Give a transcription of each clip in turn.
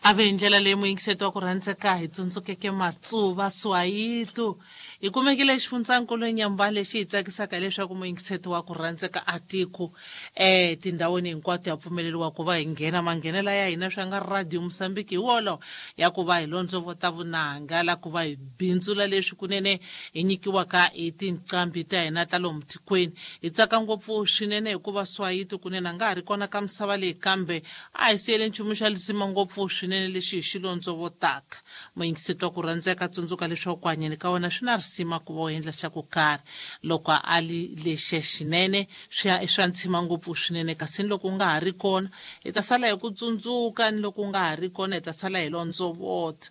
Ave hi ndlela leyi muyingiseti wa ku rhandzeka hi tsundzukeke matsuva swayitu hi kumekile xifundzankulu enyamba lexi hi tsakisaka hileswaku muyingiseti wa ku rhandzeka a tiko tindhawini hinkwato ya pfumeleriwa ku va hi nghena manghenela ya hina swa nga radio Mosambiki hi wolo ya ku va hi londzovota vunanga la ku va hi bindzula leswi kunene hi nyikiwaka hi tinqambi ta hina ta lomu tikweni. Hi tsaka ngopfu swinene hikuva swayitu kunene a nga ha ri kona ka misava leyi, kambe a hi siyele nchumu xa lisima ngopfu swinene lexi hi xi londzovotaka. Muyingiseti wa ku rhandzeka, tsundzuka leswaku ku hanyeni ka wena swi na risima ku va u endla xa ku karhi. Loko a li lexe xinene swi ya i swa ntshima ngopfu swinene, kasi ni loko u nga ha ri kona hi ta sala hi ku tsundzuka, ni loko u nga ha ri kona hi ta sala hi londzovota.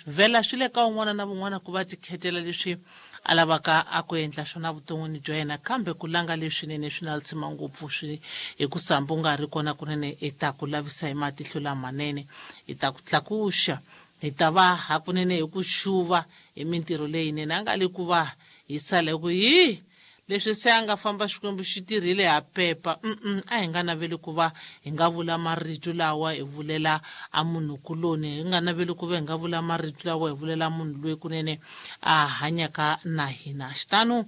Vhela swi le ka un'wana na vun'wana ku va tikhetela leswi a lavaka a ku endla swona vuton'wini bya yena, kambe ku langa leswinene swi na lisima ngopfu swi hikusa hambi u nga ha ri kona kunene hi ta ku lavisa hi matihlo lamanene, hi ta ku tlakuxa, hi ta va hakunene hi ku xuva hi mintirho leyinene. A nga li ku va hi sala hi ku hi leswi se a nga famba Xikwembu xi tirhile ha pepa. A hi nga naveli ku va hi nga vula marito lawa hi vulela a munhukuloni, hi nga naveli ku va hi nga vula marito lawa hi vulela munhu loyi kunene a hanyaka na hina. Xitano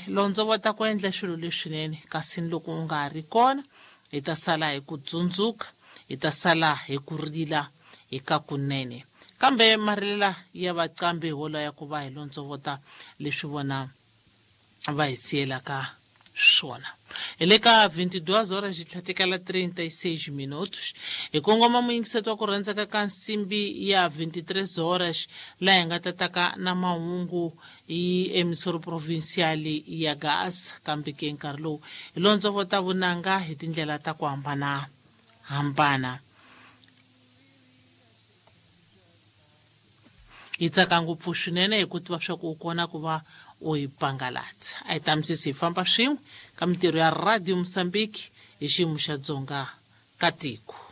londzovota ku endla swilo leswinene, kasi ni loko u nga ha ri kona hi ta sala hi ku tsundzuka, hi ta sala hi ku rila hi ka kunene. Kambe marilela ya vaqambi hi wolowo ya ku va hi londzovota leswi vona va hi siyelaka swona. Hi le ka 22 horas xi tlhatekela 36 minutos. Hi kongoma muyingiseti wa ku rhandzeka ka nsimbi ya 23 horas, laha hi nga tataka na mahungu hi emisoro provincial ya Gaza. Kambe ke nkarhi lowu hi londzovota vunanga hi tindlela ta ku hambana hambana. Hi tsaka ngopfu swinene hi ku tiva swa ku u kona ku va u hi pangalatsa. A hi tamisisi hi famba swin'we ka mintirho ya Radio Mozambique hi xiyimo xa dzonga ka tiko.